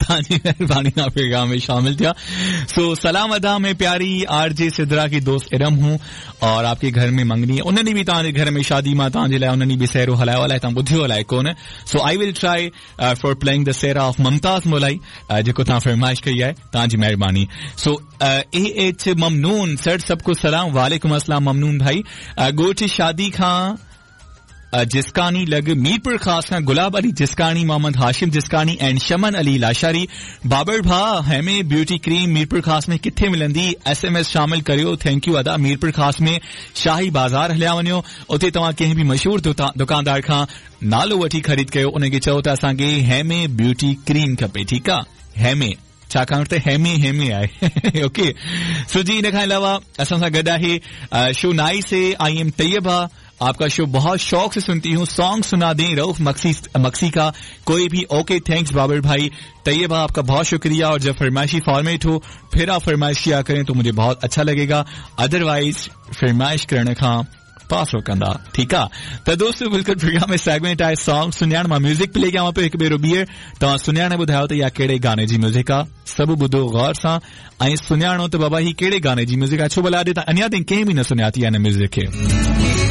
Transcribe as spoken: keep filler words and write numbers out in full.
तव्हांजी महिरबानी तव्हां प्रोग्राम में शामिल थिया। सो सलाम अदा, मैं प्यारी आरजे सिद्रा की दोस्त इरम हूँ और आपके घर में मंगनी है। उन्होंने भी तव्हांजे घर में शादी मां तव्हांजे लाइ उन्होंने बि सहरो हलायो, अलाए तव्हां ॿुधियो अलाए कोन। So I will try for playing the sehra of Mumtaz Molai जेको तव्हां फरमाइश कई आहे, तव्हांजी महिरबानी। सो ए एच ममनून सर सबको सलाम। वालेकुम अस्सलाम ममनून भाई। ॻोठ शादी खां जिस्कानी लॻ मीरपुर ख़ास खां गुलाब अली जिस्कानी, मोहम्मद हाशिम जिस्कानी एंड शमन अली लाशारी। बाबर भा हेमे ब्यूटी क्रीम मीरपुर ख़ास में किथे मिलंदी? एसएमएस शामिल करियो। Thank you अदा। मीरपुर ख़ास में शाही बाज़ार हलिया वञो, उते तव्हां कंहिं बि मशहूर दुकानदार खां नालो वठी ख़रीद कयो, उनखे चओ त असांखे हेमे ब्यूटी क्रीम खपे, ठीकु आहे? हेमे छाकाणि त हेमे हेमे आहे। ओके सो जी इन खां अलावा असां सां गॾु आहे शो नाइस है, I am Tayyaba, आपका शो बहुत शौक से सुनती हूँ, सॉन्ग सुना दें रऊफ मक्सी मक्सी का कोई भी। ओके thanks Babar भाई। तैयबा आपका बहुत शुक्रिया, और जब फरमाइशी फॉर्मेट हो फिर आप फरमाइश किया करें तो मुझे बहुत अच्छा लगेगा, अदरवाइज फरमाइश करण खां पासो कंदा, ठीकु आहे? त दोस्तो बिल्कुलु प्रोग्राम में सेगमेंट आहे सॉन्ग सुञाण, मां म्यूज़िक प्ले कयां पियो हिकु भेरो ॿीहर, तव्हां सुञाण ॿुधायो त इहा कहिड़े गाने जी म्यूज़िक आहे। सभु ॿुधो गौर सां ऐं सुञाणो त बाबा हीअ कहिड़े गाने जी म्यूज़िक आहे, छो भला अॼु अञा ताईं कंहिं बि न सुञाती आहे हिन म्यूज़िक खे।